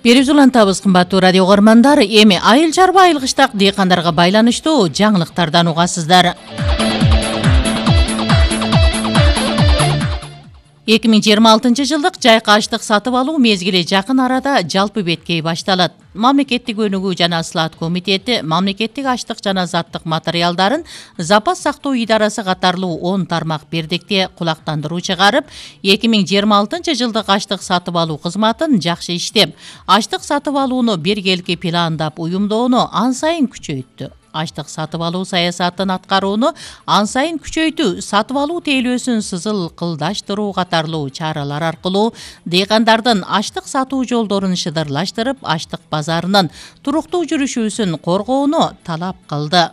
Берип улантабыз кымбаттуу радио угармандар. Эми айыл чарба айыл кыштак дыйкандарга байланыштуу жаңылыктардан угасыздар. 2026 жылдык жайкы аштык сатып алуу мезгили жакын арада жалпы беткей башталат. Мамлекеттик өнүгүү жана слаат комитети мамлекеттик аштык жана заттык материалдарын запас сактоо идарасы катарлуу 10 тармак бирдикте кулактандыруу чыгарып, 2026 жылдык аштык сатып алуу кызматын жакшы иштеп, аштык сатып алууну биргеликки пландап уюмдоону ан сайын күчөйттү. Аштык сатып алуу саясатын аткарууну ан сайын күчөйтүү, сатып алуу тейлөөсүн сызылкылдаштыруу катарлуу чаралар аркылуу дыйкандардын аштык сатуу жолдорун шыдырлаштырып, аштык базарынын туруктуу жүрүшүүсүн коргоону талап кылды.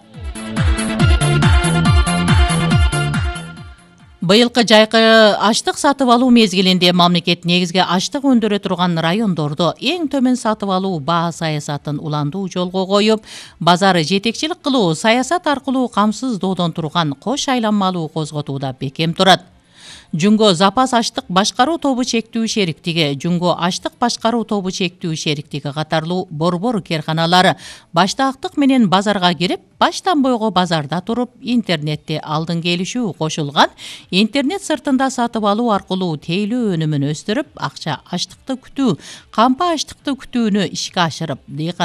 Быйылкы жайкы аштык сатып алуу мезгилинде мамлекет негизги аштык өндүрө турган райондордо эң төмөн сатып алуу баа саясатын уландуу жолго коюп, базары жетекчилик кылуу саясат аркылуу камсыздоодон турган кош айланмалуу козготууда бекем турат. Жунго запас аштык башкаруу тобу чектүү шериктиги, Жунго аштык башкаруу тобу чектүү шериктиги катарлуу борбор керканалары баштаактык менен базарга кирип, баштан бойго базарда туруп, интернетте алдын келишүү кошулган интернет сыртында сатып алуу аркылуу тейлөө өнүмүн өстүрүп, акча аштыкты күтүү, кампа аштыкты күтүүнү ишке ашырып,